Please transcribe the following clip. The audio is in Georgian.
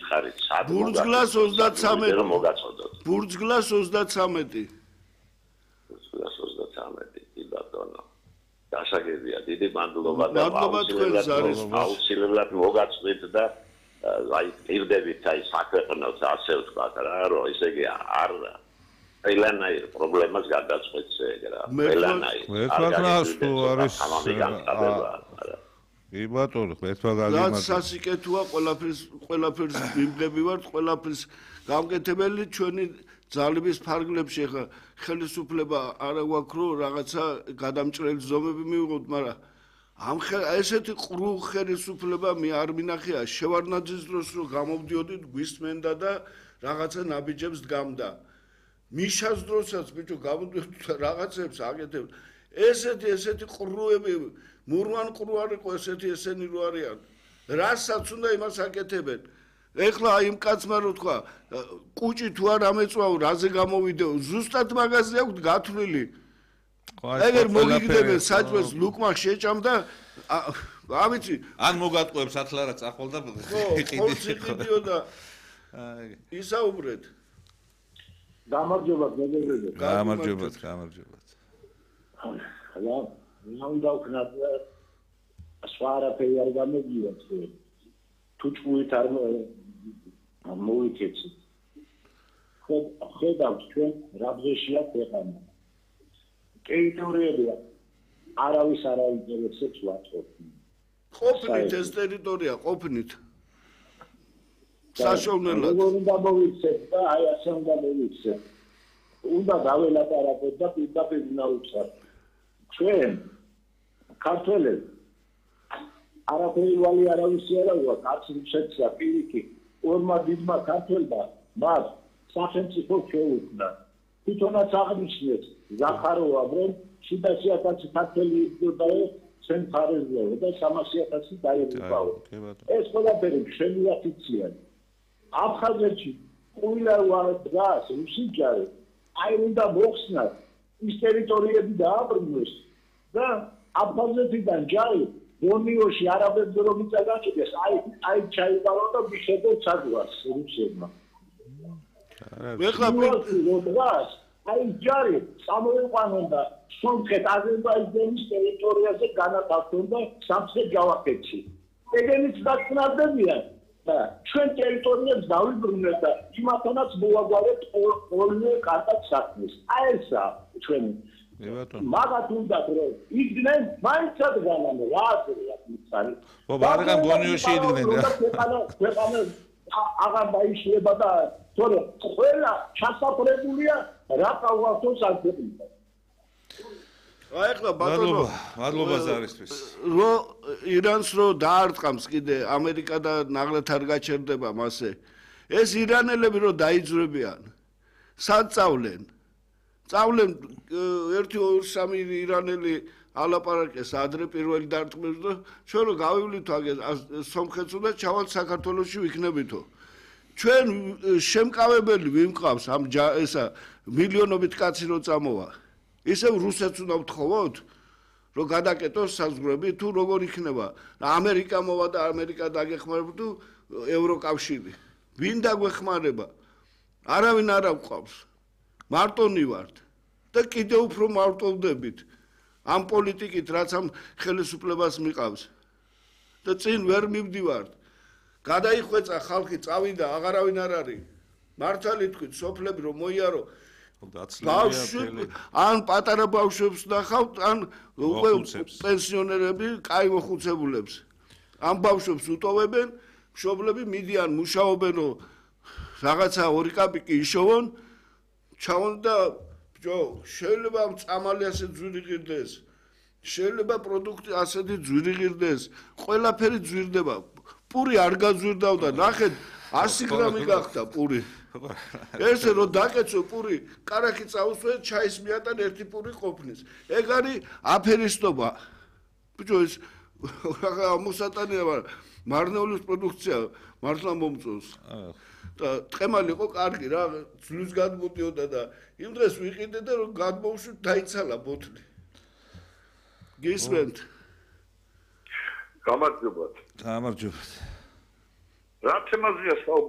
მითხარით სად ბურძგლას 33 რომ მოგაწოდოთ ბურძგლას 33 ბურძგლას 33 კი ბატონო გასაგებია დიდი მადლობა და აუცილებლად მოგაწვით და აი პირდებით აი საქმეებს ასე ვთქვათ რა რომ ისე იგი არ ყველანაირ პრობლემას გადაწყვეტს ეგ რა ყველანაირ კი ბატონო ერთმა გაგიმართ რაც სასიკეთოა ყველაფერს ვიმდები ვართ ყველაფერს გამკეთებელი ჩვენი ძალების ფარგლებში ხა ხელისუფლება არა გვაქვს რომ რაღაცა გადამჭრელი ზომები მივიღოთ მაგრამ ამ ესეთი ყრუ ხელისუფლება მე არ მინახია შევარდნაძის დროს რომ გამოვდიოდით გვისმენდა და რაღაცა ნაბიჯებს დგამდა მიშას დროსაც ბიჭო გამოდიოდით რაღაცებს აკეთებ ესეთი ყრუები მურვან ყრუ არ იყო ესენი რო არიან რასაც უნდა იმას აკეთებენ ეხლა აი იმ კაცმა რო თქვა კუჭი თუ არ ამეწვაო რაზე გამოვიდეო ზუსტად მაგაზე აქვს გათვლილი ეგერ მოგიგდებენ საჭმელს ლუკმა შეჭამდა ავიცი ან მოგატყუებს ათლარა წახვალ და იყიდიო და ისაუბრეთ გამარჯობათ მეგობრებო გამარჯობათ ხლა უნდა ვქნათ სხვა არაფერი არ გამოგივათ თუ ჭუით არ მოვიქეცით ხედავთ ჩვენ რა ბზეშია ქვეყანა ტერიტორიები არავის არ აინტერესებს ვაწყობთ ყოფნით ეს ტერიტორია ყოფნით საშოვნელად უნდა მოვიქცეთ და აი ასე უნდა მოვიქცეთ უნდა დაველაპარაკოთ და პირდაპირ ნაუცხოთ ჩვენ ქართველები არაფერი ვალი არავისი არა ვარ კაც რუსეთსა პირიქით ორმა დიდმა ქართველმა მას სახელმწიფო შეუქმნა თვითონაც აღნიშნეს ზახაროვა რომ 700,000 ქართველი იდგოდა ჩვენ ხარეზეო და 300,000 დაიღუპაო ეს ყველაფერი შემოაფიცია აფხაზეთში ყველა ვარდას რუსიჯარი აი უნდა მოხსნათ ის ტერიტორიები დააბრუნოს და აფხაზეთიდან ჯარი ბონიოში არაბებს რომ იწაგაჭდეს აი ჩაიბარო და მიხედო საგვარს რუსებმა ეხლა როდას აი ჯარი სამოიყვანონ და სომხეთ აზერბაიჯანის ტერიტორიაზე განათავსონ და სამხრეთ ჯავახეთში ეგენიც დაგწნარდებიან და ჩვენ ტერიტორიებს დავიბრუნებთ და იმათანაც მოვაგვარებთ ორივე კარტად საქმეს აი ესა ჩვენი მაგათ უნდა რომ იდგნენ მაინც ადგანან რა აზრია მიცარი ხო ბარგან ბონიოში იდგნენ ქვეყანა აღარ დაიშლება და თორე ყველა ჩასაფრებულია რა ყავართოს ალფებია აი ახლა ბატონო მადლობა ზარისთვის რო ირანს რო დაარტყამს კიდე ამერიკა და ნაღლად არ გაჩერდება მასე ეს ირანელები რო დაიძრებიან სად წავლენ 1-2-3 ირანელი ალაპარაკეს ადრე პირველი დარტყმებს და ჩვენ რო გავივლით აგე სომხეთს უნდა ჩავალთ საქართველოში ვიქნებითო ჩვენ შემკავებელი ვიმყავს ამ ესა მილიონობით კაცი რო წამოვა ისევ რუსეთს უნდა ვთხოვოთ რომ გადაკეტოს საზღვრები თუ როგორ იქნება ამერიკა მოვა და ამერიკა დაგეხმარება თუ ევროკავშირი ვინ დაგვეხმარება არავინ არ აყვავს მარტონი ვართ და კიდევ უფრო მარტოვდებით ამ პოლიტიკით რაც ამ ხელისუფლებას მიყავს და წინ ვერ მივდივართ გადაიხვეწა ხალხი წავიდა აღარავინ არ არის მართალი თქვით სოფლები რომ მოიარო ბავშვები ან პატარა ბავშვებს ნახავთ ან უკვე პენსიონერები კაი მოხუცებულებს ამ ბავშვებს უტოვებენ მშობლები მიდიან მუშაობენ რომ რაღაცა 2 კაპიკი იშოვონ ჩავონ და ბჭო შეიძლება წამალი ასე ძვირი ღირდეს შეიძლება პროდუქტი ასეთი ძვირი ღირდეს ყველაფერი ძვირდება პური არ გაძვირდავდა ნახეთ 100 გრამი გახდა პური ესე რომ დაკეცო პური კარაქი წაუსვე ჩაის მიატან ერთი პური ყოფნის ეგ არის აფერისტობა ბჭო ეს მოსატანია მარნეულის პროდუქცია მართლა მომწონს და ტყემალი იყო კარგი რა ძვლის გადმოდიოდა და იმ დღეს ვიყიდე და რომ გადმოვშვით დაიცალა ბოთლი გისმენთ გამარჯობათ გამარჯობათ რა თემაზეა